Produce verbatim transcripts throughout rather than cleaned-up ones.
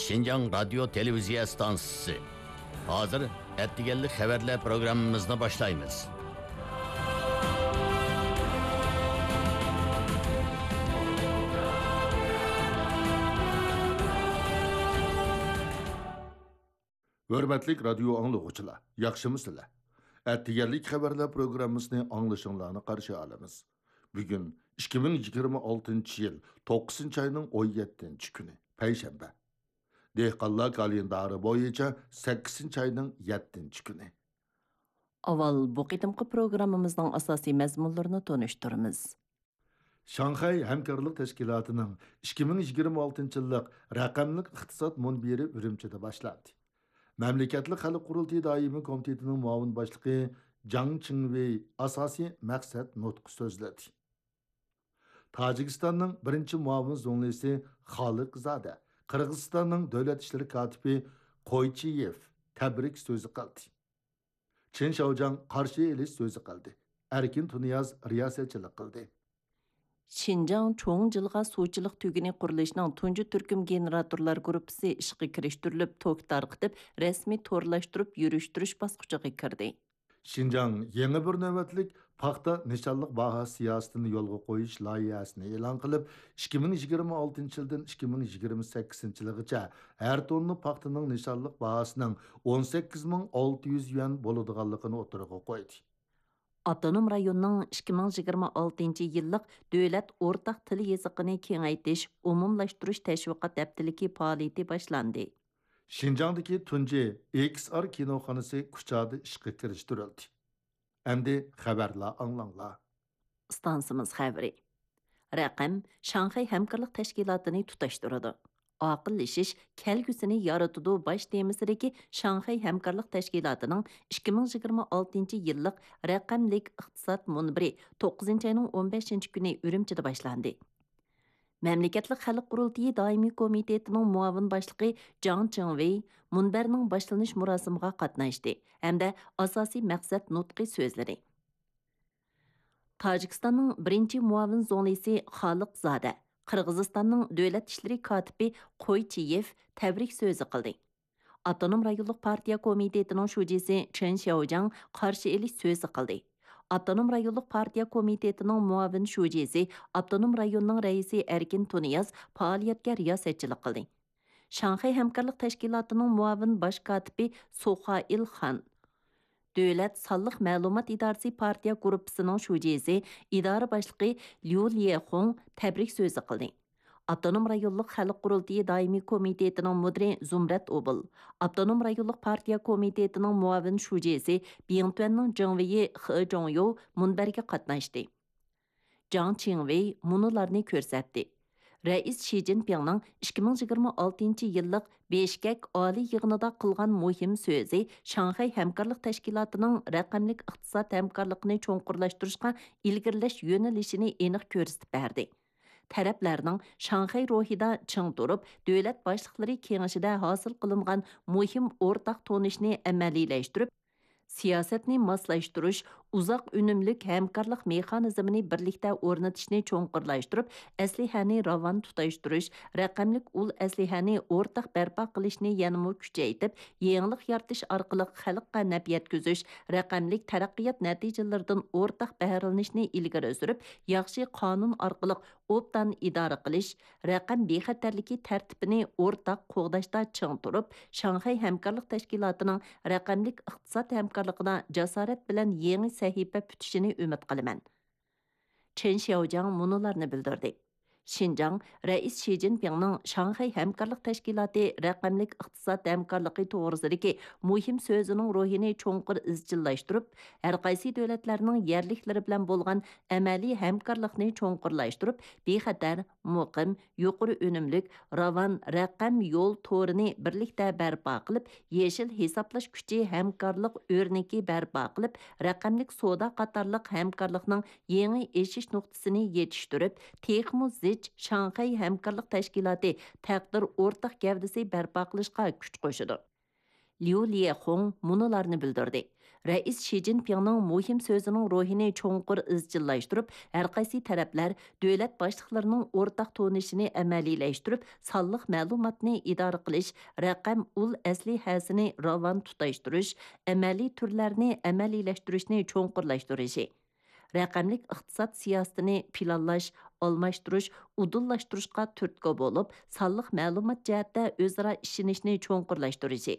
شىنجاڭ رادىيو تېلېۋىزىيە ئىستانسىسى. ھازىر ئەتىگەنلىك خەۋەرلەر پروگراممىمىزنى باشلايمىز. ھۆرمەتلىك رادىيو ئاڭلىغۇچىلار، ياخشىمۇسىلەر؟ ئەتىگەنلىك خەۋەرلەر پروگراممىسىنى ئاڭلىشىڭلارنى قارشى ئالىمىز. بۈگۈن ئىككى مىڭ يىگىرمە ئالتىنچى يىل توققۇزىنچى ئاينىڭ ئون يەتتىنچى كۈنى، پەيشەنبە. دېھقانلار كالېندارى بويىچە سەككىزىنچى ئاينىڭ يەتتىنچى كۈنى. ئاۋۋال بۇ قېتىمقى پروگراممىمىزنىڭ ئاساسىي مەزمۇنلىرىنى تونۇشتۇرىمىز. شاڭخەي ھەمكارلىق تەشكىلاتىنىڭ ئىككى مىڭ يىگىرمە ئالتىنچى يىللىق رەقەملىك ئىقتىساد مۇنبىرى ئۈرۈمچىدە باشلاندى. مەملىكەتلىك خەلق قۇرۇلتىيى دائىمىي كومىتېتىنىڭ مۇئاۋىن باشلىقى جاڭ چىڭۋېي ئاساسىي مەقسەت نۇتقى سۆزلىدى. تاجىكىستاننىڭ بىرىنچى مۇئاۋىن زۇڭلىسى خالىق زادە قىرغىزىستاننىڭ دۆلەت ئىشلىرى كاتىپى قويچىيېف تەبرىك سۆزى قىلدى. چېن شياۋجياڭ قارشى ئېلىش سۆزى قىلدى. ئەركىن تۇنىياز رىياسەتچىلىك قىلدى. شىنجاڭ چوڭ جىلغا سۇچىلىق تۈگۈنى قۇرۇلۇشىنىڭ تۇنجى تۈركۈم گېنېراتورلار گۇرۇپپىسى ئىشقا كىرىشتۈرۈلۈپ، توك تارقىتىپ، رەسمىي تورلاشتۇرۇپ يۈرۈشتۈرۈش باسقۇچىغا كىردى. شىنجاڭ يېڭى بىر نۆۋەتلىك پاختا نىشانلىق باھا سىياسىتىنى يولغا قويۇش لايىھەسىنى ئېلان قىلىپ، ئىككى مىڭ يىگىرمە ئالتىنچى يىلدىن ئىككى مىڭ يىگىرمە سەككىزىنچى يىلغىچە ھەر توننا پاختىنىڭ نىشانلىق باھاسىنىڭ ئون سەككىز مىڭ ئالتە يۈز يۈەن بولىدىغانلىقىنى ئوتتۇرىغا قويدى. ئاپتونوم رايوننىڭ ئىككى مىڭ يىگىرمە ئالتىنچى يىللىق دۆلەت ئورتاق تىل يېزىقىنى كېڭەيتىش، ئومۇملاشتۇرۇش تەشۋىقات ھەپتىلىكى پائالىيىتى باشلاندى. شىنجاڭدىكى تۇنجى ئېكس ئار كىنوخانىسى كۇچادا ئىشقا كىرىشتۈرۈلدى. ئەمدى خەۋەرلەر ئاڭلاڭلار. ئىستانسىمىز خەۋىرى. رەقەم شاڭخەي ھەمكارلىق تەشكىلاتىنى تۇتاشتۇرىدۇ. ئاقىللىشىش كەلگۈسىنى يارىتىدۇ باش تېمىسىدىكى شاڭخەي ھەمكارلىق تەشكىلاتىنىڭ ئىككى مىڭ يىگىرمە ئالتىنچى يىللىق رەقەملىك ئىقتىساد مۇنبىرى توققۇزىنچى ئاينىڭ ئون بەشىنچى كۈنى ئۈرۈمچىدە باشلاندى. مەملىكەتلىك خەلق قۇرۇلتىيى دائىمىي كومىتېتىنىڭ مۇئاۋىن باشلىقى جاڭ چىڭۋېي مۇنبەرنىڭ باشلىنىش مۇراسىمىغا قاتناشتى ھەمدە ئاساسىي مەقسەت نۇتقى سۆزلىدى. تاجىكىستاننىڭ بىرىنچى مۇئاۋىن زۇڭلىسى خالىق زادە، قىرغىزىستاننىڭ دۆلەت ئىشلىرى كاتىپى قويچىيېف تەبرىك سۆزى قىلدى. ئاپتونوم رايونلۇق پارتىيە كومىتېتىنىڭ شۇجىسى چېن شياۋجياڭ قارشى ئېلىش سۆزى قىلدى. ئاپتونوم رايونلۇق پارتىيە كومىتېتىنىڭ مۇئاۋىن شۇجىسى، ئاپتونوم رايوننىڭ رەئىسى ئەركىن تۇنىياز پائالىيەتكە رىياسەتچىلىك قىلدى. شاڭخەي ھەمكارلىق تەشكىلاتىنىڭ مۇئاۋىن باش كاتىپى سۇخائىل خان، دۆلەت سانلىق مەلۇمات ئىدارىسى پارتىيە گۇرۇپپىسىنىڭ شۇجىسى، ئىدارە باشلىقى ليۇ ليەخۇڭ تەبرىك سۆزى قىلدى. ئاپتونوم رايونلۇق خەلق قۇرۇلتىيى دائىمىي كومىتېتىنىڭ مۇدىرى زۇمرەت ئوبۇل، ئاپتونوم رايونلۇق پارتىيە كومىتېتىنىڭ مۇئاۋىن شۇجىسى، بىڭتۈەننىڭ جېڭۋېيى خې جوڭيوۋ مۇنبەرگە قاتناشتى. جاڭ چىڭۋېي مۇنۇلارنى كۆرسەتتى. رەئىس شى جىنپىڭنىڭ ئىككى مىڭ يىگىرمە ئالتىنچى يىللىق بىشكەك ئالىي يىغىنىدا قىلغان مۇھىم سۆزى شاڭخەي ھەمكارلىق تەشكىلاتىنىڭ رەقەملىك ئىقتىساد ھەمكارلىقىنى چوڭقۇرلاشتۇرۇشقا ئىلگىرىلەش يۆنىلىشىنى ئېنىق كۆرسىتىپ بەردى. تەرەپلەرنىڭ شاڭخەي روھىدا چىڭ تۇرۇپ، دۆلەت باشلىقلىرى كېڭىشىدە ھاسىل قىلىنغان مۇھىم ئورتاق تونۇشنى ئەمەلىيلەشتۈرۈپ، سىياسەتنى ماسلاشتۇرۇش، ئۇزاق ئۈنۈملۈك ھەمكارلىق مېخانىزمىنى بىرلىكتە ئورنىتىشنى چوڭقۇرلاشتۇرۇپ، ئەسلىھەنى راۋان تۇتاشتۇرۇش، رەقەملىك ئۇل ئەسلىھەنى ئورتاق بەرپا قىلىشنى يەنىمۇ كۈچەيتىپ، يېڭىلىق يارىتىش ئارقىلىق خەلققە نەپ يەتكۈزۈش، رەقەملىك تەرەققىيات نەتىجىلىرىدىن ئورتاق بەھرىلىنىشنى ئىلگىرى سۈرۈپ، ياخشى قانۇن ئارقىلىق ئوبدان ئىدارە قىلىش، رەقەم بىخەتەرلىكى تەرتىپىنى ئورتاق قوغداشتا چىڭ تۇرۇپ، شاڭخەي ھەمكارلىق تەشكىلاتىنىڭ رەقەملىك ئىقتىساد ھەمكارلىقىدا جاسارەت بىلەن يېڭى سەھىپە پۈتۈشىنى ئۈمىد قىلىمەن. چېن شياۋجياڭ مۇنۇلارنى بىلدۈردى. شىنجاڭ رەئىس شى جىنپىڭنىڭ شاڭخەي ھەمكارلىق تەشكىلاتى رەقەملىك ئىقتىساد ھەمكارلىقى توغرىسىدىكى مۇھىم سۆزىنىڭ روھىنى چوڭقۇر ئىزچىللاشتۇرۇپ، ھەرقايسى دۆلەتلەرنىڭ يەرلىكلىرى بىلەن بولغان ئەمەلىي ھەمكارلىقنى چوڭقۇرلاشتۇرۇپ، بىخەتەر، مۇقىم، يۇقىرى ئۈنۈملۈك، راۋان رەقەم يول تورىنى بىرلىكتە بەرپا قىلىپ، يېشىل ھېسابلاش كۈچى ھەمكارلىق ئۆرنىكى بەرپا قىلىپ، رەقەملىك سودا قاتارلىق ھەمكارلىقنىڭ يېڭى ئېشىش نۇقتىسىنى يېتىشتۈرۈپ، تېخىمۇ زىچ شاڭخەي ھەمكارلىق تەشكىلاتى تەقدىر ئورتاق گەۋدىسى بەرپا قىلىشقا كۈچ قوشىدۇ. ليۇ ليەخۇڭ مۇنۇلارنى بىلدۈردى. رەئىس شى جىنپىڭنىڭ مۇھىم سۆزىنىڭ روھىنى چوڭقۇر ئىزچىللاشتۇرۇپ، ھەرقايسى تەرەپلەر دۆلەت باشلىقلىرىنىڭ ئورتاق تونۇشىنى ئەمەلىيلەشتۈرۈپ، سانلىق مەلۇماتنى ئىدارە قىلىش، رەقەم ئۇل ئەسلىھەسىنى راۋان تۇتاشتۇرۇش، ئەمەلىي تۈرلەرنى ئەمەلىيلەشتۈرۈشنى چوڭقۇرلاشتۇرۇشى، رەقەملىك ئىقتىساد سىياسىتىنى پىلانلاش، ئالماشتۇرۇش، ئۇدۇللاشتۇرۇشقا تۈرتكە بولۇپ، سانلىق مەلۇمات جەھەتتە ئۆزئارا ئىشىنىشنى چوڭقۇرلاشتۇرۇشى،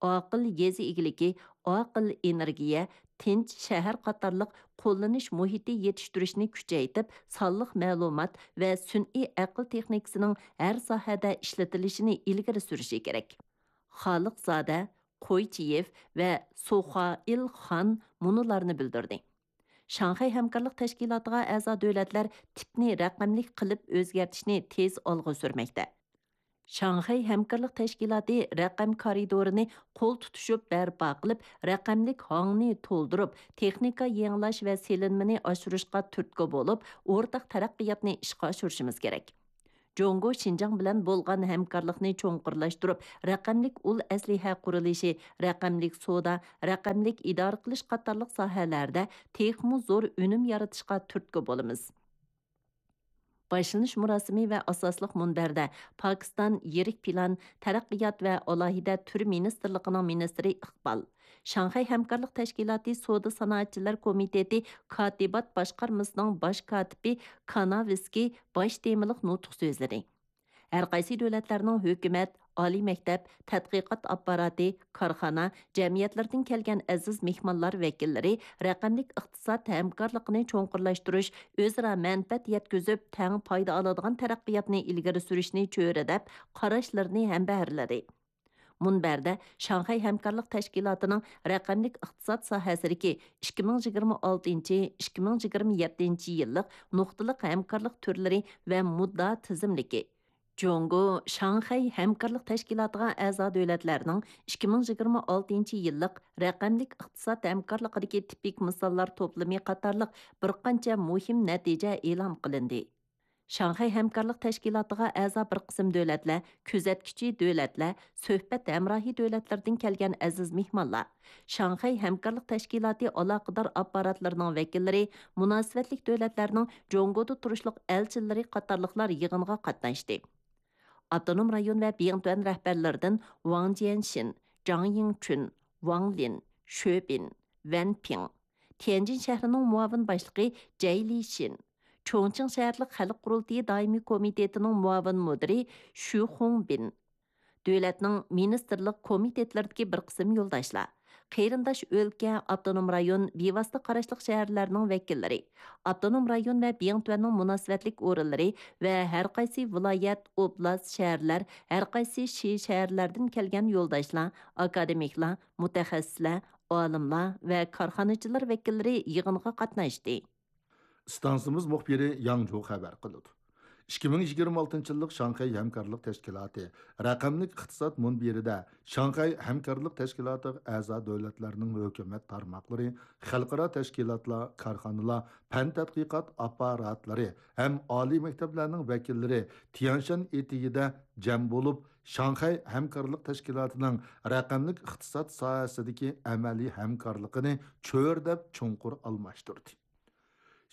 ئاقىل يېزا ئىگىلىكى، ئاقىل ئېنېرگىيە، تىنچ شەھەر قاتارلىق قوللىنىش مۇھىتى يېتىشتۈرۈشنى كۈچەيتىپ، سانلىق مەلۇمات ۋە سۈنئىي ئەقىل تېخنىكىسىنىڭ ھەر ساھەدە ئىشلىتىلىشىنى ئىلگىرى سۈرۈشى كېرەك. خالىقزادە، قويچىيېف ۋە سوخائىل خان مۇنۇلارنى بىلدۈردى. شاڭخەي ھەمكارلىق تەشكىلاتىغا ئەزا دۆلەتلەر تىپنى رەقەملىك قىلىپ ئۆزگەرتىشنى تېز ئالغا سۈرمەكتە. شاڭخەي ھەمكارلىق تەشكىلاتى رەقەم كارىدورىنى قول تۇتۇشۇپ بەرپا قىلىپ، رەقەملىك ھاڭنى تولدۇرۇپ، تېخنىكا يېڭىلاش ۋە سېلىنمىنى ئاشۇرۇشقا تۈرتكە بولۇپ، ئورتاق تەرەققىياتنى ئىشقا ئاشۇرۇشىمىز كېرەك. جۇڭگو شىنجاڭ بىلەن بولغان ھەمكارلىقنى چوڭقۇرلاشتۇرۇپ، رەقەملىك ئۇل ئەسلىھە قۇرۇلۇشى، رەقەملىك سودا، رەقەملىك ئىدارە قىلىش قاتارلىق ساھەلەردە تېخىمۇ زور ئۈنۈم يارىتىشقا تۈرتكە بولىمىز. باشلىنىش مۇراسىمى ۋە ئاساسلىق مۇنبەردە پاكىستان يىرىك پىلان، تەرەققىيات ۋە ئالاھىدە تۈر مىنىستىرلىقىنىڭ مىنىستىرى ئىقبال، شاڭخەي ھەمكارلىق تەشكىلاتى سودا سانائەتچىلەر كومىتېتى كاتىبات باشقارمىسىنىڭ باش كاتىپى كاناۋىسكىي باش تېمىلىق نۇتۇق سۆزلىدى. ھەرقايسى دۆلەتلەرنىڭ ھۆكۈمەت، ئالىي مەكتەپ، تەتقىقات ئاپپاراتى، كارخانا، جەمئىيەتلىرىدىن كەلگەن ئەزىز مېھمانلار ۋەكىللىرى رەقەملىك ئىقتىساد ھەمكارلىقىنى چوڭقۇرلاشتۇرۇش، ئۆزئارا مەنپەئەت يەتكۈزۈپ، تەڭ پايدا ئالىدىغان تەرەققىياتنى ئىلگىرى سۈرۈشنى چۆرىدەپ، قاراشلىرىنى ھەمبەھىرلىدى. مۇنبەردە شاڭخەي ھەمكارلىق تەشكىلاتىنىڭ رەقەملىك ئىقتىساد ساھەسىدىكى ئىككى مىڭ يىگىرمە ئالتىنچى، ئىككى مىڭ يىگىرمە يەتتىنچى يىللىق نۇقتىلىق ھەمكارلىق تۈرلىرى ۋە مۇددىئا تىزىملىكى، جۇڭگو شاڭخەي ھەمكارلىق تەشكىلاتىغا ئەزا دۆلەتلەرنىڭ ئىككى مىڭ يىگىرمە ئالتىنچى يىللىق رەقەملىك ئىقتىساد ھەمكارلىقىدىكى تىپىك مىساللار توپلىمى قاتارلىق بىر قانچە مۇھىم نەتىجە ئېلان قىلىندى. شاڭخەي ھەمكارلىق تەشكىلاتىغا ئەزا بىر قىسىم دۆلەتلەر، كۆزەتكۈچى دۆلەتلەر، سۆھبەت ھەمراھى دۆلەتلىرىدىن كەلگەن ئەزىز مېھمانلار، شاڭخەي ھەمكارلىق تەشكىلاتى ئالاقىدار ئاپپاراتلىرىنىڭ ۋەكىللىرى، مۇناسىۋەتلىك دۆلەتلەرنىڭ جۇڭگودا تۇرۇشلۇق ئەلچىلىرى قاتارلىقلار يىغىنغا قاتناشتى. ئاپتونوم رايون ۋە بىڭتۈەن رەھبەرلىرىدىن ۋاڭ جيەنشىن، جاڭ يىڭچۈن، ۋاڭ لىن، شۆ بىن، ۋەن پىڭ، تيەنجىن شەھىرىنىڭ مۇئاۋىن باشلىقى جەي لىشىن، چۇڭچىڭ شەھەرلىك خەلق قۇرۇلتىيى دائىمىي كومىتېتىنىڭ مۇئاۋىن مۇدىرى شۈ خۇڭبىن، دۆلەتنىڭ مىنىستىرلىق كومىتېتلىرىدىكى بىر قىسىم يولداشلار، قېرىنداش ئۆلكە، ئاپتونوم رايون، بىۋاسىتە قاراشلىق شەھەرلەرنىڭ ۋەكىللىرى، ئاپتونوم رايون ۋە بىڭتۈەننىڭ مۇناسىۋەتلىك ئورۇنلىرى ۋە ھەرقايسى ۋىلايەت، ئوبلاست، شەھەرلەر، ھەرقايسى شى شەھەرلەردىن كەلگەن يولداشلار، ئاكادېمىكلار، مۇتەخەسسىسلەر، ئالىملار ۋە كارخانىچىلار ۋەكىللىرى يىغىنغا قاتناشتى. ئىستانسىمىز مۇخبىرى ياڭجۇ خەۋەر قىلىدۇ. ئىككى مىڭ يىگىرمە ئالتىنچى يىللىق شاڭخەي ھەمكارلىق تەشكىلاتى رەقەملىك ئىقتىساد مۇنبىرىدە شاڭخەي ھەمكارلىق تەشكىلاتىغا ئەزا دۆلەتلەرنىڭ ھۆكۈمەت تارماقلىرى، خەلقئارا تەشكىلاتلار، كارخانىلار، پەن تەتقىقات ئاپپاراتلىرى ھەم ئالىي مەكتەپلەرنىڭ ۋەكىللىرى تيەنشان ئېتىگىدە جەم بولۇپ، شاڭخەي ھەمكارلىق تەشكىلاتىنىڭ رەقەملىك ئىقتىساد ساھەسىدىكى ئەمەلىي ھەمكارلىقىنى چۆرىدەپ چوڭقۇر ئالماشتۇردى.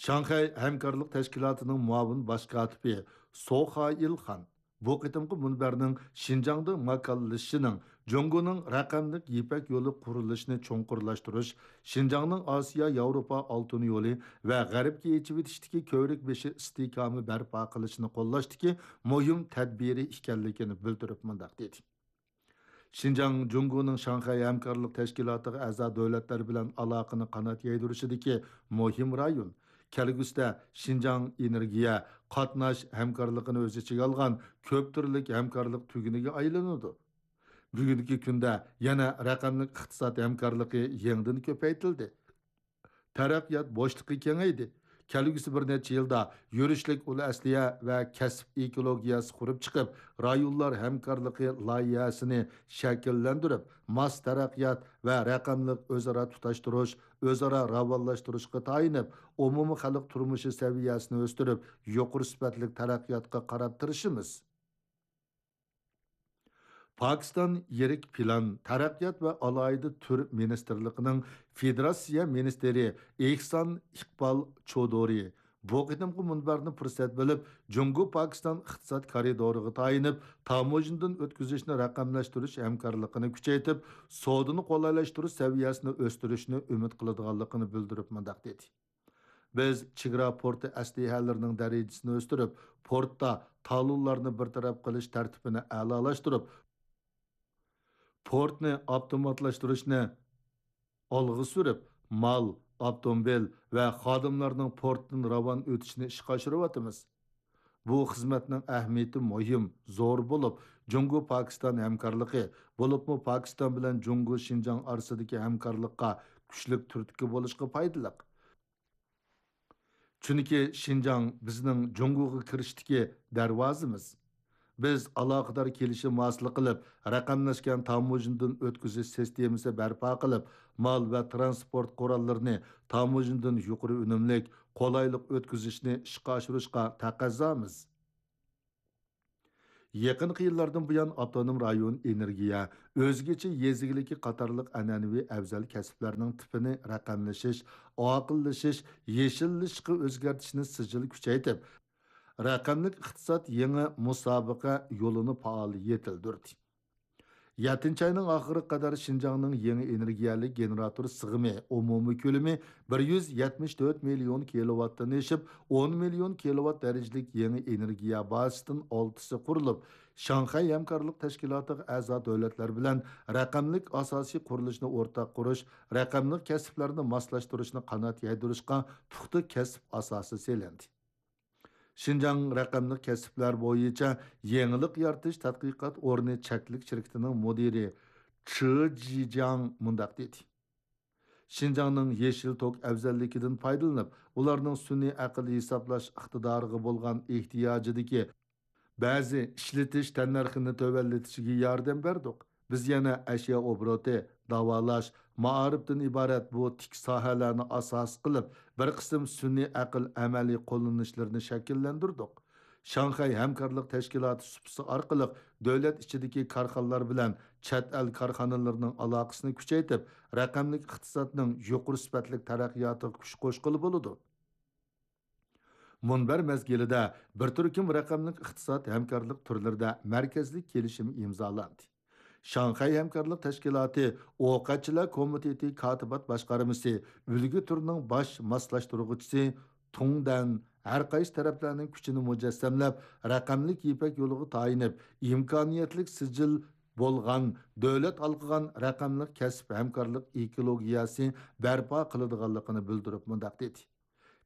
شاڭخەي ھەمكارلىق تەشكىلاتىنىڭ مۇئاۋىن باش كاتىپى سو خائىل خان بۇ قېتىمقى مۇنبەرنىڭ شىنجاڭدا ماكانلىشىشىنىڭ جۇڭگونىڭ رەقەملىك يىپەك يولى قۇرۇلۇشىنى چوڭقۇرلاشتۇرۇش، شىنجاڭنىڭ ئاسىيا ياۋروپا ئالتۇن يولى ۋە غەربكە ئېچىۋېتىشتىكى كۆۋرۈك بېشى ئىستىھكامى بەرپا قىلىشنى قوللاشتىكى مۇھىم تەدبىرى ئىكەنلىكىنى بىلدۈرۈپ مۇنداق دېدى. شىنجاڭ جۇڭگونىڭ شاڭخەي ھەمكارلىق تەشكىلاتىغا ئەزا دۆلەتلەر بىلەن ئالاقىنى قانات يايدۇرۇشىدىكى مۇھىم رايون. كەلگۈسىدە شىنجاڭ ئېنېرگىيە، قاتناش ھەمكارلىقىنى ئۆز ئىچىگە ئالغان كۆپ تۈرلۈك ھەمكارلىق تۈگۈنىگە ئايلىنىدۇ. بۈگۈنكى كۈندە يەنە رەقەملىك ئىقتىساد ھەمكارلىقى يېڭىدىن كۆپەيتىلدى. تەرەققىيات بوشلۇقى كېڭەيدى. كەلگۈسى بىر نەچچە يىلدا يۈرۈشلۈك ئۇل ئەسلىھە ۋە كەسىپ ئېكولوگىيەسى قۇرۇپ چىقىپ، رايونلار ھەمكارلىقى لايىھەسىنى شەكىللەندۈرۈپ، ماس تەرەققىيات ۋە رەقەملىك ئۆزئارا تۇتاشتۇرۇش، ئۆزئارا راۋانلاشتۇرۇشقا تايىنىپ، ئومۇمىي خەلق تۇرمۇشى سەۋىيەسىنى ئۆستۈرۈپ، يۇقىرى سۈپەتلىك تەرەققىياتقا قاراپ تىرىشىمىز. پاكىستان يىرىك پىلان، تەرەققىيات ۋە ئالاھىدە تۈر مىنىستىرلىقىنىڭ فېدېراتسىيە مىنىستىرى ئېھسان ئىقبال چودۇرى بۇ قېتىمقى مۇنبەرنى پۇرسەت بىلىپ، جۇڭگو پاكىستان ئىقتىساد كارىدورىغا تايىنىپ، تاموژنىدىن ئۆتكۈزۈشنى رەقەملەشتۈرۈش ھەمكارلىقىنى كۈچەيتىپ، سودىنى قولايلاشتۇرۇش سەۋىيەسىنى ئۆستۈرۈشنى ئۈمىد قىلىدىغانلىقىنى بىلدۈرۈپ مۇنداق دېدى: بىز چېگرا پورتى ئەسلىھەلىرىنىڭ دەرىجىسىنى ئۆستۈرۈپ، پورتتا تالونلارنى بىر تەرەپ قىلىش تەرتىپىنى ئەلالاشتۇرۇپ، پورتنى ئاپتوماتلاشتۇرۇشنى ئالغا سۈرۈپ، مال، ئاپتوموبىل ۋە خادىملارنىڭ پورتتىن راۋان ئۆتۈشىنى ئىشقا ئاشۇرۇۋاتىمىز. بۇ خىزمەتنىڭ ئەھمىيىتى مۇھىم، زور بولۇپ، جۇڭگو پاكىستان ھەمكارلىقى، بولۇپمۇ پاكىستان بىلەن جۇڭگو شىنجاڭ ئارىسىدىكى ھەمكارلىققا كۈچلۈك تۈرتكە بولۇشقا پايدىلىق. چۈنكى شىنجاڭ بىزنىڭ جۇڭگوغا كىرىشتىكى دەرۋازىمىز. بىز ئالاقىدار كېلىشىم ھاسىل قىلىپ، رەقەملەشكەن تاموژنىدىن ئۆتكۈزۈش سىستېمىسى بەرپا قىلىپ، مال ۋە تىرانسپورت قوراللىرىنى تاموژنىدىن يۇقىرى ئۈنۈملۈك، قولايلىق ئۆتكۈزۈشنى ئىشقا ئاشۇرۇشقا تەقەززامىز. يېقىنقى يىللاردىن بۇيان، ئاپتونوم رايون ئېنېرگىيە، ئۆزگىچە يېزا ئىگىلىكى قاتارلىق ئەنئەنىۋى ئەۋزەل كەسىپلەرنىڭ تىپىنى رەقەملىشىش، ئاقىللىشىش، يېشىللىشىشقا ئۆزگەرتىشنى سىجىل كۈچەيتىپ، رەقەملىك ئىقتىساد يېڭى مۇسابىقە يولىنى پائال يېتىلدۈردى. يەتتىنچى ئاينىڭ ئاخىرىغا قەدەر شىنجاڭنىڭ يېڭى ئېنېرگىيەلىك گېنېراتور سىغىمى ئومۇمىي كۆلىمى بىر يۈز يەتمىش تۆت مىليون كىلوۋاتتىن ئېشىپ، ئون مىليون كىلوۋات دەرىجىلىك يېڭى ئېنېرگىيە بازىسىدىن ئالتىسى قۇرۇلۇپ، شاڭخەي ھەمكارلىق تەشكىلاتىغا ئەزا دۆلەتلەر بىلەن رەقەملىك ئاساسىي قۇرۇلۇشنى ئورتاق قۇرۇش، رەقەملىك كەسىپلەرنى ماسلاشتۇرۇشنى قانات يايدۇرۇشقا پۇختا كەسىپ ئاساسى سېلىندى. شىنجاڭ رەقەملىك كەسىپلەر بويىچە يېڭىلىق يارىتىش تەتقىقات ئورنى چەكلىك شىركىتىنىڭ مۇدىرى چې جىجياڭ مۇنداق دېدى: شىنجاڭنىڭ يېشىل توك ئەۋزەللىكىدىن پايدىلىنىپ، ئۇلارنىڭ سۈنئىي ئەقىل ھېسابلاش ئىقتىدارىغا بولغان ئېھتىياجىدىكى بەزى ئىشلىتىش تەننەرخىنى تۆۋەنلىتىشىگە ياردەم بەردۇق. بىز يەنە ئەشيا ئوبوروتى، داۋالاش، مائارىپتىن ئىبارەت بۇ تىك ساھەلەرنى ئاساس قىلىپ، بىر قىسىم سۈنئىي ئەقىل ئەمەلىي قوللىنىشلىرىنى شەكىللەندۈردۇق. شاڭخەي ھەمكارلىق تەشكىلاتى سۇپىسى ئارقىلىق دۆلەت ئىچىدىكى كارخانىلار بىلەن چەت ئەل كارخانىلىرىنىڭ ئالاقىسىنى كۈچەيتىپ، رەقەملىك ئىقتىسادنىڭ يۇقىرى سۈپەتلىك تەرەققىياتىغا كۈچ قوشقىلى بولىدۇ. مۇنبەر مەزگىلىدە بىر تۈركۈم رەقەملىك ئىقتىساد ھەمكارلىق تۈرلىرىدە مەركەزلىك كېلىشىم ئىمزالاندى. شاڭخەي ھەمكارلىق تەشكىلاتى ئوقەتچىلەر كومىتېتى كاتىبات باشقارمىسى ئۈلگە تۈرىنىڭ باش ماسلاشتۇرغۇچىسى تۇڭ دەن ھەر قايسى تەرەپلەرنىڭ كۈچىنى مۇجەسسەملەپ، رەقەملىك يىپەك يولىغا تايىنىپ، ئىمكانىيەتلىك سىجىل بولغان، دۆلەت ھالقىغان رەقەملىك كەسىپ ھەمكارلىق ئېكولوگىيەسى بەرپا قىلىدىغانلىقىنى بىلدۈرۈپ مۇنداق دېدى: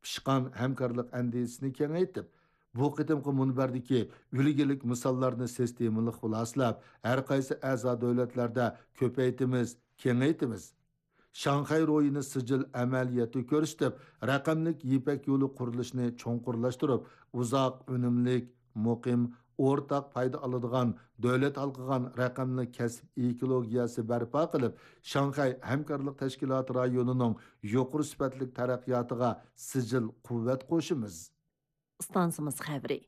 پىشقان ھەمكارلىق ئەندىزىسىنى كېڭەيتىپ، بۇ قېتىمقى مۇنبەردىكى ئۈلگىلىك مىساللارنى سىستېمىلىق خۇلاسىلەپ، ھەر قايسى ئەزا دۆلەتلەردە كۆپەيتىمىز، كېڭەيتىمىز. شاڭخەي روھىنى سىجىل ئەمەلىيەتتە كۆرسىتىپ، رەقەملىك يىپەك يولى قۇرۇلۇشىنى چوڭقۇرلاشتۇرۇپ، ئۇزاق ئۈنۈملۈك، مۇقىم، ئورتاق پايدا ئالىدىغان، دۆلەت ھالقىغان رەقەملىك كەسىپ ئېكولوگىيەسى بەرپا قىلىپ، شاڭخەي ھەمكارلىق تەشكىلاتى رايونىنىڭ يۇقىرى سۈپەتلىك تەرەققىياتىغا سىجىل قۇۋۋەت قوشىمىز. ئىستانسىمىز خەۋىرى.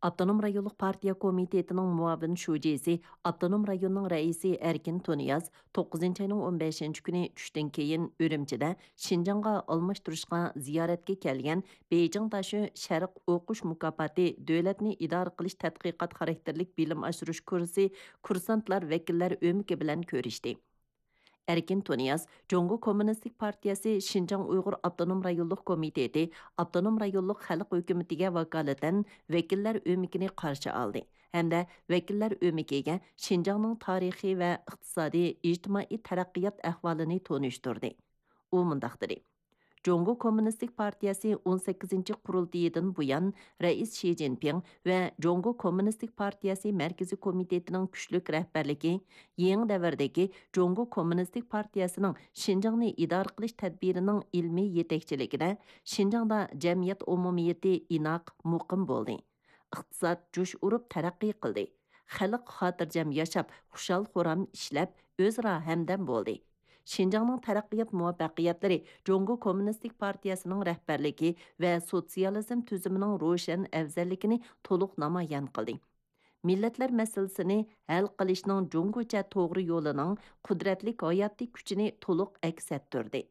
ئاپتونوم رايونلۇق پارتىيە كومىتېتىنىڭ مۇئاۋىن شۇجىسى، ئاپتونوم رايوننىڭ رەئىسى ئەركىن تۇنىياز توققۇزىنچى ئاينىڭ ئون بەشىنچى كۈنى چۈشتىن كېيىن ئۈرۈمچىدە شىنجاڭغا ئالماشتۇرۇشقا زىيارەتكە كەلگەن بېيجىڭ داشۆ شەرق ئوقۇش مۇكاپاتى دۆلەتنى ئىدارە قىلىش تەتقىقات خاراكتېرلىك بىلىم ئاشۇرۇش كۇرسى كۇرسانتلار ۋەكىللەر ئۆمىكى بىلەن كۆرۈشتى. ئەركىن تۇنىياز جۇڭگو كوممۇنىستىك پارتىيەسى شىنجاڭ ئۇيغۇر ئاپتونوم رايونلۇق كومىتېتى ئاپتونوم رايونلۇق خەلق ھۆكۈمىتىگە ۋاكالىتەن ۋەكىللەر ئۆمىكىنى قارشى ئالدى ھەمدە ۋەكىللەر ئۆمىكىگە شىنجاڭنىڭ تارىخىي ۋە ئىقتىسادىي، ئىجتىمائىي تەرەققىيات ئەھۋالىنى تونۇشتۇردى. ئۇ مۇنداق دېدى: جۇڭگو كوممۇنىستىك پارتىيەسى ئون سەككىزىنچى قۇرۇلتىيىدىن بۇيان، رەئىس شى جىنپىڭ ۋە جۇڭگو كوممۇنىستىك پارتىيەسى مەركىزىي كومىتېتىنىڭ كۈچلۈك رەھبەرلىكى، يېڭى دەۋردىكى جۇڭگو كوممۇنىستىك پارتىيەسىنىڭ شىنجاڭنى ئىدارە قىلىش تەدبىرىنىڭ ئىلمىي يېتەكچىلىكىدە شىنجاڭدا جەمئىيەت ئومۇمىيىتى ئىناق، مۇقىم بولدى. ئىقتىساد جۇش ئۇرۇپ تەرەققىي قىلدى. خەلق خاتىرجەم ياشاپ، خۇشال-خۇرام ئىشلەپ، ئۆزئارا ھەمدەم بولدى. شىنجاڭنىڭ تەرەققىيات مۇۋەپپەقىيەتلىرى جۇڭگو كوممۇنىستىك پارتىيەسىنىڭ رەھبەرلىكى ۋە سوتسىيالىزم تۈزۈمىنىڭ روشەن ئەۋزەللىكىنى تولۇق نامايان قىلدى. مىللەتلەر مەسىلىسىنى ھەل قىلىشنىڭ جۇڭگوچە توغرا يولىنىڭ قۇدرەتلىك ھاياتىي كۈچىنى تولۇق ئەكس ئەتتۈردى.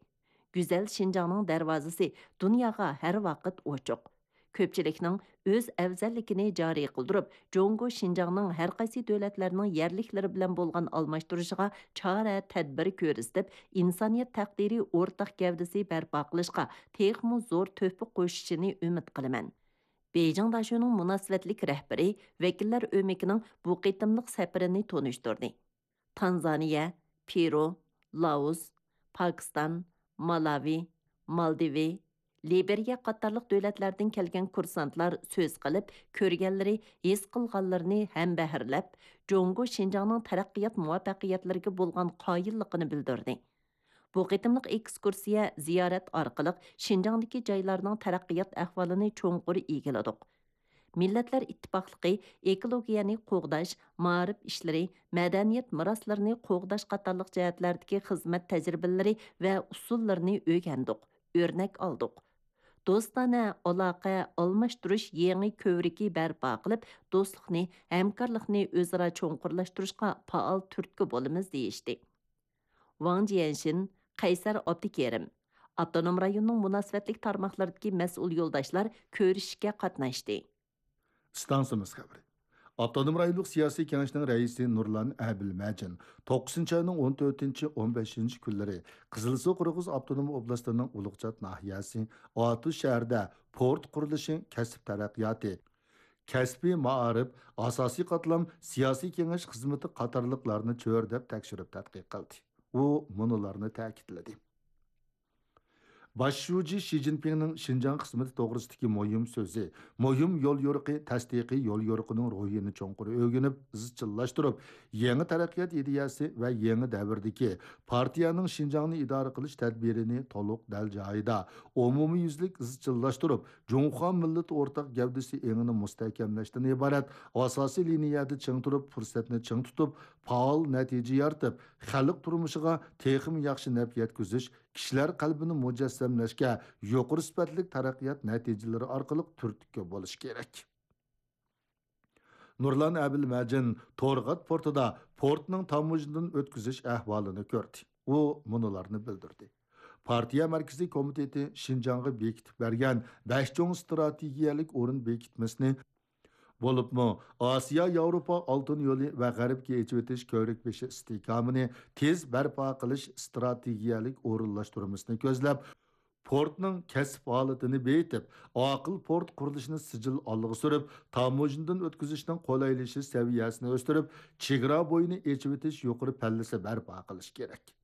گۈزەل شىنجاڭنىڭ دەرۋازىسى دۇنياغا ھەر ۋاقىت ئوچۇق. كۆپچىلىكنىڭ ئۆز ئەۋزەللىكىنى جارى قىلدۇرۇپ، جۇڭگو شىنجاڭنىڭ ھەر قايسى دۆلەتلەرنىڭ يەرلىكلىرى بىلەن بولغان ئالماشتۇرۇشىغا چارە، تەدبىر كۆرسىتىپ، ئىنسانىيەت تەقدىرى ئورتاق گەۋدىسى بەرپا قىلىشقا تېخىمۇ زور تۆھپە قوشۇشىنى ئۈمىد قىلىمەن. بېيجىڭ داشۆنىڭ مۇناسىۋەتلىك رەھبىرى ۋەكىللەر ئۆمىكىنىڭ بۇ قېتىملىق سەپىرىنى تونۇشتۇردى. تانزانىيە، پېرۇ، لائوس، پاكىستان، مالاۋى، مالدىۋى، لىبېرىيە قاتارلىق دۆلەتلەردىن كەلگەن كۇرسانتلار سۆز قىلىپ، كۆرگەنلىرى، ھېس قىلغانلىرىنى ھەمبەھىرلەپ، جۇڭگو شىنجاڭنىڭ تەرەققىيات مۇۋەپپەقىيەتلىرىگە بولغان قايىللىقىنى بىلدۈردى. بۇ قېتىملىق ئېكسكۇرسىيە، زىيارەت ئارقىلىق شىنجاڭدىكى جايلارنىڭ تەرەققىيات ئەھۋالىنى چوڭقۇر ئىگىلىدۇق. مىللەتلەر ئىتتىپاقلىقى، ئېكولوگىيەنى قوغداش، مائارىپ ئىشلىرى، مەدەنىيەت مىراسلىرىنى قوغداش قاتارلىق جەھەتلەردىكى خىزمەت تەجرىبىلىرى ۋە ئۇسۇللىرىنى ئۆگەندۇق، ئۆرنەك ئالدۇق. دوستانە ئالاقە ئالماشتۇرۇش يېڭى كۆۋرۈكى بەرپا قىلىپ، دوستلۇقنى، ھەمكارلىقنى ئۆزئارا چوڭقۇرلاشتۇرۇشقا پائال تۈرتكە بولىمىز، دېيىشتى. ۋاڭ جيەنشىن، قەيسەر ئابدۇكېرىم، ئاپتونوم رايوننىڭ مۇناسىۋەتلىك تارماقلىرىدىكى مەسئۇل يولداشلار كۆرۈشۈشكە قاتناشتى. ئىستانسىمىز خەۋىرى. ئاپتونوم رايونلۇق سىياسىي كېڭەشنىڭ رەئىسى نۇرلان ئەبىلمەجىن توققۇزىنچى ئاينىڭ ئون تۆتىنچى، ئون بەشىنچى كۈنلىرى قىزىلسۇ قىرغىز ئاپتونوم ئوبلاستىنىڭ ئۇلۇغچات ناھىيەسى ئاتۇش شەھىرىدە پورت قۇرۇلۇشى، كەسىپ تەرەققىياتى، كەسپىي مائارىپ، ئاساسىي قاتلام سىياسىي كېڭەش خىزمىتى قاتارلىقلارنى چۆرىدەپ تەكشۈرۈپ تەتقىق قىلدى. ئۇ مۇنۇلارنى تەكىتلىدى. باش شۇجى شى جىنپىڭنىڭ شىنجاڭ خىزمىتى توغرىسىدىكى مۇھىم سۆزى، مۇھىم يوليورۇقى، تەستىقىي يوليورۇقىنىڭ روھىنى چوڭقۇر ئۆگىنىپ، ئىزچىللاشتۇرۇپ، يېڭى تەرەققىيات ئىدىيەسى ۋە يېڭى دەۋردىكى پارتىيەنىڭ شىنجاڭنى ئىدارە قىلىش تەدبىرىنى تولۇق دەل جايىدا، ئومۇميۈزلۈك ئىزچىللاشتۇرۇپ، جۇڭخۇا مىللىتى ئورتاق گەۋدىسى ئېڭىنى مۇستەھكەملەشتىن ئىبارەت ئاساسىي لىنىيەدە چىڭ تۇرۇپ، پۇرسەتنى چىڭ تۇتۇپ، پائال نەتىجە يارىتىپ، خەلق تۇرمۇشىغا تېخىمۇ ياخشى نەپ يەتكۈزۈش، كىشىلەر قەلبىنى مۇجەسسەملەشكە يۇقىرى سۈپەتلىك تەرەققىيات نەتىجىلىرى ئارقىلىق تۈرتكە بولۇش كېرەك. نۇرلان ئەبىلمەجىن تورغات پورتىدا پورتنىڭ تاموژنىدىن ئۆتكۈزۈش ئەھۋالىنى كۆردى. ئۇ مۇنۇلارنى بىلدۈردى. پارتىيە مەركىزىي كومىتېتى شىنجاڭغا بېكىتىپ بەرگەن بەش چوڭ ئىستراتېگىيەلىك ئورۇن بېكىتمىسىنى، بولۇپمۇ ئاسىيا ياۋروپا ئالتۇن يولى ۋە غەربكە ئېچىۋېتىش كۆۋرۈك بېشى ئىستىھكامىنى تېز بەرپا قىلىش ئىستراتېگىيەلىك ئورۇنلاشتۇرمىسىنى كۆزلەپ، پورتنىڭ كەسىپ ھالىتىنى بېيىتىپ، ئاقىل پورت قۇرۇلۇشىنى سىجىل ئالغا سۈرۈپ، تاموژنىدىن ئۆتكۈزۈشنىڭ قولايلىشىش سەۋىيەسىنى ئۆستۈرۈپ، چېگرا بويىنى ئېچىۋېتىش يۇقىرى پەللىسى بەرپا قىلىش كېرەك.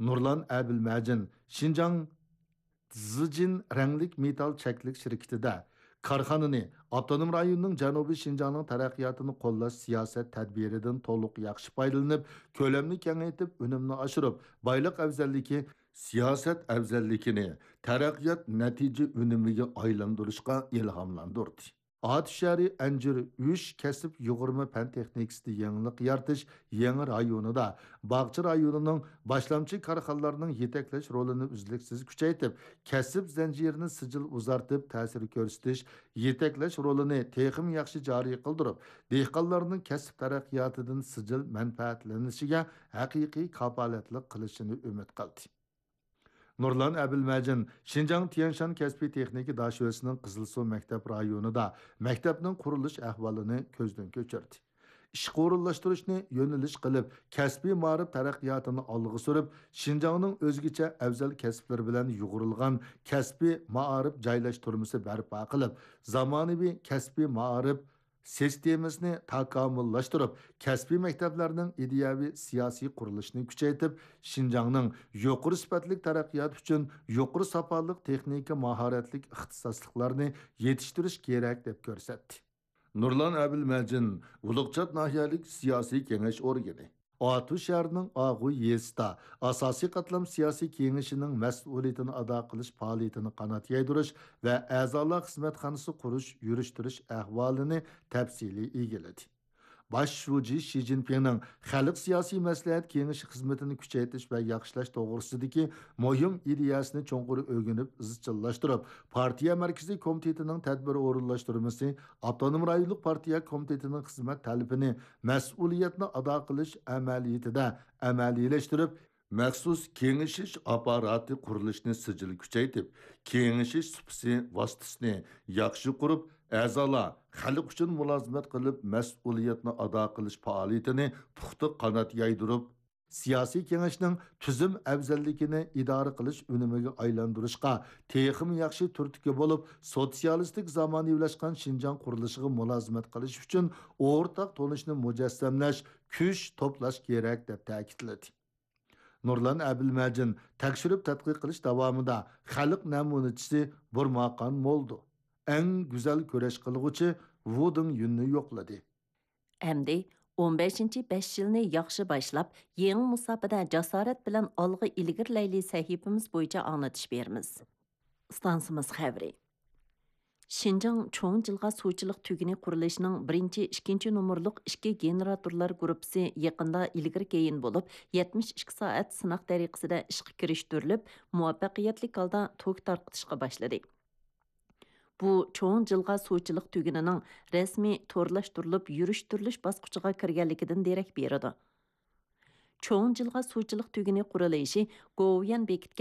نۇرلان ئەبىلمەجىن شىنجاڭ زىجىن رەڭلىك مېتال چەكلىك شىركىتىدە كارخانىنى ئاپتونوم رايوننىڭ جەنۇبىي شىنجاڭنىڭ تەرەققىياتىنى قوللاش سىياسەت تەدبىرىدىن تولۇق ياخشى پايدىلىنىپ، كۆلەمنى كېڭەيتىپ، ئۈنۈمنى ئاشۇرۇپ، بايلىق ئەۋزەللىكى، سىياسەت ئەۋزەللىكىنى تەرەققىيات نەتىجە ئۈنۈمىگە ئايلاندۇرۇشقا ئىلھاملاندۇردى. ئاتۇش شەھىرى ئەنجۈر ئۈچ كەسىپ يۇغۇرما پەن تېخنىكىسىدا يېڭىلىق يارىتىش يېڭى رايونىدا باغچە رايونىنىڭ باشلامچى كارخانىلارنىڭ يېتەكلەش رولىنى ئۈزلۈكسىز كۈچەيتىپ، كەسىپ زەنجىرىنى سىجىل ئۇزارتىپ، تەسىر كۆرسىتىش، يېتەكلەش رولىنى تېخىمۇ ياخشى جارى قىلدۇرۇپ، دېھقانلارنىڭ كەسىپ تەرەققىياتىدىن سىجىل مەنپەئەتلىنىشىگە ھەقىقىي كاپالەتلىك قىلىشىنى ئۈمىد قىلدى. نۇرلان ئەبىلمەجىن شىنجاڭ تيەنشان كەسپىي تېخنىكا داشۆسىنىڭ قىزىلسۇ مەكتەپ رايونىدا مەكتەپنىڭ قۇرۇلۇش ئەھۋالىنى كۆزدىن كۆچۈردى. ئىشقا ئورۇنلاشتۇرۇشنى يۆنىلىش قىلىپ، كەسپىي مائارىپ تەرەققىياتىنى ئالغا سۈرۈپ، شىنجاڭنىڭ ئۆزگىچە ئەۋزەل كەسىپلىرى بىلەن يۇغۇرۇلغان كەسپىي مائارىپ جايلاشتۇرمىسى بەرپا قىلىپ، زامانىۋى كەسپىي مائارىپ سىستېمىسىنى تاكامۇللاشتۇرۇپ، كەسپىي مەكتەپلەرنىڭ ئىدىيەۋى سىياسىي قۇرۇلۇشىنى كۈچەيتىپ، شىنجاڭنىڭ يۇقىرى سۈپەتلىك تەرەققىياتى ئۈچۈن يۇقىرى ساپالىق تېخنىكا ماھارەتلىك ئىختىساسلىقلارنى يېتىشتۈرۈش كېرەك، دەپ كۆرسەتتى. نۇرلان ئەبىلمەجىن، ئۇلۇغچات ناھىيەلىك سىياسىي كېڭەش ئورگىنى. ئاتۇش شەھىرىنىڭ ئاغۇ يېزىسىدا ئاساسىي قاتلام سىياسىي كېڭىشىنىڭ مەسئۇلىيىتىنى ئادا قىلىش پائالىيىتىنى قانات يايدۇرۇش ۋە ئەزالار خىزمەتخانىسى قۇرۇش، يۈرۈشتۈرۈش ئەھۋالىنى تەپسىلىي ئىگىلىدى. باش شۇجى شى جىنپىڭنىڭ خەلق سىياسىي مەسلىھەت كېڭىشى خىزمىتىنى كۈچەيتىش ۋە ياخشىلاش توغرىسىدىكى مۇھىم ئىدىيەسىنى چوڭقۇر ئۆگىنىپ ئىزچىللاشتۇرۇپ، پارتىيە مەركىزىي كومىتېتىنىڭ تەدبىر ئورۇنلاشتۇرمىسى، ئاپتونوم رايونلۇق پارتىيە كومىتېتىنىڭ خىزمەت تەلىپىنى، مەسئۇلىيەتنى ئادا قىلىش ئەمەلىيىتىدە ئەمەلىيلەشتۈرۈپ، مەخسۇس كېڭىشىش ئاپپاراتى قۇرۇلۇشىنى سىجىل كۈچەيتىپ، كېڭىشىش سۇپىسى ۋاسىتىسىنى ياخشى قۇرۇپ، ئەزالار خەلق ئۈچۈن مۇلازىمەت قىلىپ، مەسئۇلىيەتنى ئادا قىلىش پائالىيىتىنى پۇختا قانات يايدۇرۇپ، سىياسىي كېڭەشنىڭ تۈزۈم ئەۋزەللىكىنى ئىدارە قىلىش ئۈنۈمىگە ئايلاندۇرۇشقا تېخىمۇ ياخشى تۈرتكە بولۇپ، سوتسىيالىستىك زامانىۋىلاشقان شىنجاڭ قۇرۇلۇشىغا مۇلازىمەت قىلىش ئۈچۈن ئورتاق تونۇشنى مۇجەسسەملەش، كۈچ توپلاش كېرەك، دەپ تەكىتلىدى. نۇرلان ئەبىلمەجىن تەكشۈرۈپ تەتقىق قىلىش داۋامىدا خەلق نەمۇنىچىسى بۇرماقان مولدو، ئەڭ گۈزەل كۈرەش قىلغۇچى ۋۇ دېڭيۈننى يوقلىدى. ئەمدى ئون بەشىنچى بەش يىلنى ياخشى باشلاپ، يېڭى مۇساپىدە جاسارەت بىلەن ئالغا ئىلگىرىلەيلى سەھىپىمىز بويىچە ئاڭلىتىش بېرىمىز. ئىستانسىمىز خەۋىرى. شىنجاڭ چوڭ جىلغا سۇچىلىق تۈگۈنى قۇرۇلۇشىنىڭ بىرىنچى، ئىككىنچى نومۇرلۇق ئىككى گېنېراتورلار گۇرۇپپىسى يېقىندا ئىلگىرى كېيىن بولۇپ، يەتمىش ئىككى سائەت سىناق تەرىقىسىدە ئىشقا كىرىشتۈرۈلۈپ، مۇۋەپپەقىيەتلىك ھالدا توك تارقىتىشقا باشلىدى. بۇ چوڭ جىلغا سۇچىلىق تۈگۈنىنىڭ رەسمىي تورلاشتۇرۇلۇپ يۈرۈشتۈرۈلۈش باسقۇچىغا كىرگەنلىكىدىن دېرەك بېرىدۇ. چوڭ جىلغا سۇچىلىق تۈگۈنى قۇرۇلۇشى گوۋۇيۈەن بېكىتكەن